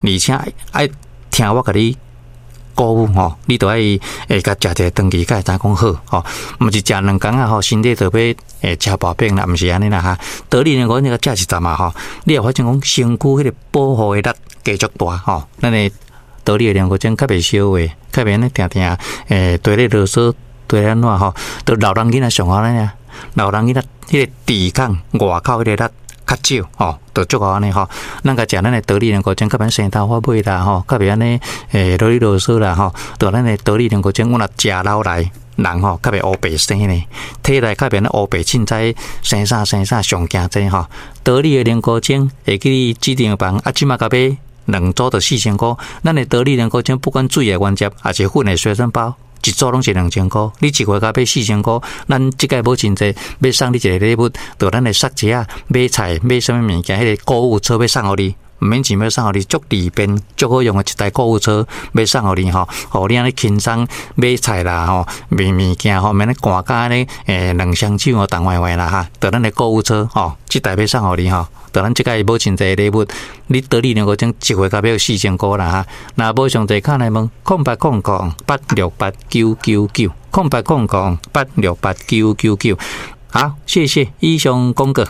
而且愛聽我共你鼓舞吼，你著愛會共食一个長期，才會知影講好吼，毋是食兩工仔吼，身體就欲食薄餅啦，毋是按呢啦哈。道理呢，講你共食一陣嘛吼，你會發現講身軀彼个保護的力繼續大吼。咱的道理的龍骨精較袂燒話，較袂按呢定定綴咧囉嗦，綴咧按怎吼，著老人囡仔上好按呢，老人囡仔彼个抵抗外口彼个力較少吼，著足夠按呢吼。咱共食咱的道理龍骨精，較袂生頭髮尾啦吼，較袂按呢囉哩囉嗦啦吼。著咱的道理龍骨精，阮若食老來人吼，較袂烏白生呢，體內較袂按呢烏白凊彩生啥生啥上驚這吼。道理的龍骨精會記你指定房啊，這馬共買兩組著4000箍。咱的道理龍骨精不管水的原汁，抑是粉的隨身包，一組攏是2000箍，你一月共買四千箍，咱這屆母親節欲送你一个禮物，著咱的雪茄仔買菜買啥物物件，彼个購物車欲送予你，毋免錢欲送予你，足利便、足好用的一台購物車欲送予你吼，予你按呢輕鬆買菜啦吼，買物件吼，免咧趕甲按呢兩雙手吼重歪歪啦哈，著咱的購物車吼，這台欲送予你吼，著咱這屆母親節的禮物，你道理兩個鐘一月共買四千箍啦哈，若無上濟敲來問0800868999，0800868999，好，謝謝，以上廣告。